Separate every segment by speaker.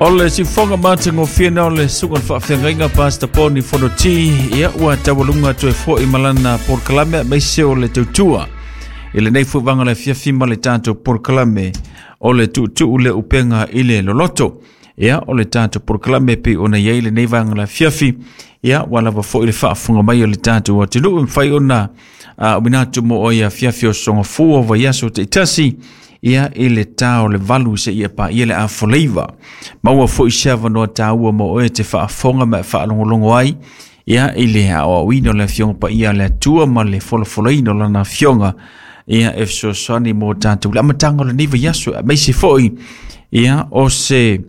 Speaker 1: O le siufofoga matagofie na o le susuga i le faafeagaiga Pastor Poni Fonoti, ia ua taualuga toe foi ma lana polokalame aemaise o le tautua i lenei foi vaega o le afiafi ma le tatou polokalame o le tuutuu le upega i le loloto. Ia, o le tatou polokalame pei ona i ai lenei vaega o le afiafi, ia ua lava foi le faafofoga mai o le tatou atunuu e mafai ona auina atu mo oe i afiafi o sogafua o vaiaso taitasi, ia i le ta o le 8 seia paia le afoleiva. Maua foi se avanoa taua mo oe e te faafofoga ma e faalogologo ai, ia i le aoaoina o le Afioga Paia a le Atua ma le folafolaina o Lana Afioga, ia e fesoasoani mo tatou le amataga o lenei vaiaso, aemaise foi ia o se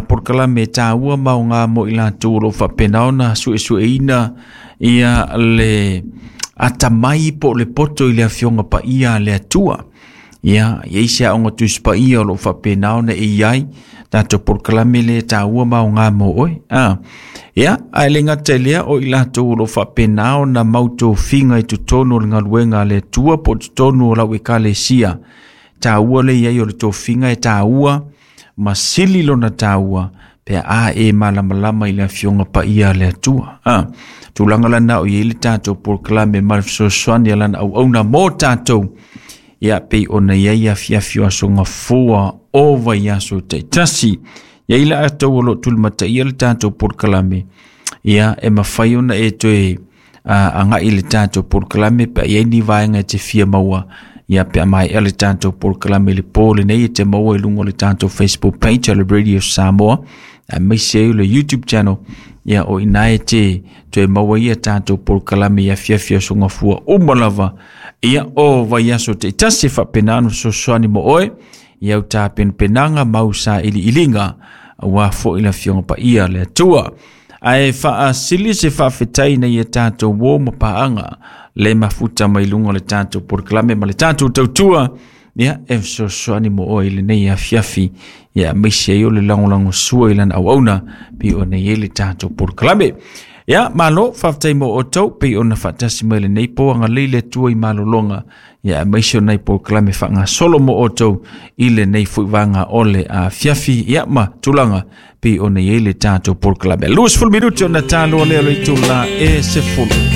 Speaker 1: polokalame taua ma aoga mo i latou o lo o faapena ona suesueina ia le atamai po o le poto i le Afioga Paia a le Atua. Ia, e i ai se aoga Tusi Paia o lo o faapena ona e i ai tatou polokalame lea e taua ma aoga mo oe. Ia, ae le gata i lea, o i latou o lo o faapena ona mau tofiga i totonu o le galuega a le Atua po o totonu o lau ekalesia. Taua le i ai o le tofiga e taua ma sili lona taua pe a e malamalama i le Afioga Paia a le Atua. Tulaga lana o i ai le tatou polokalame ma le fesoasoani a lana auauna mo tatou, ia pei ona i ai afiafi o aso gafua o vaiaso taitasi. Ia i latou o lo o tulimataia le tatou polokalame, ia e mafai ona e toe agai i le tatou polokalame pe a i ai ni vaega e te fia maua, ia pe a maea le tatou polokalame i le po lenei e te maua i luga o le tatou Facebook page o le Radio Samoa, aemaise ai o le YouTube channel, ia o ina e te toe maua ia tatou polokalame i afiafi o aso gafua uma lava, ia o vaiaso taitasi e faapena ona fesoasoani mo oe i au tapenapenaga ma au sailiiliga aua foi le Afioga Paia a le Atua. Ae faasili se faafetai ina ia tatou uo ma paaga le mafuta mai luga o le tatou polokalame ma le tatou tautua, ia e fesoasoani mo oe i lenei afiafi, ia aemaise ai o le lagolagosua i lana auauna pei ona i ai le tatou polokalame. Ia, malo, faafetai mo outou pei ona faatasi mai lenei po, agalelei le Atua i malologa, ia aemaise o nai polokalame faagasolo mo outou i lenei foi vaega o le afiafi, ia ma tulaga pei ona i ai le tatou polokalame. 20 minuti ona taloa lea o le itula e 10.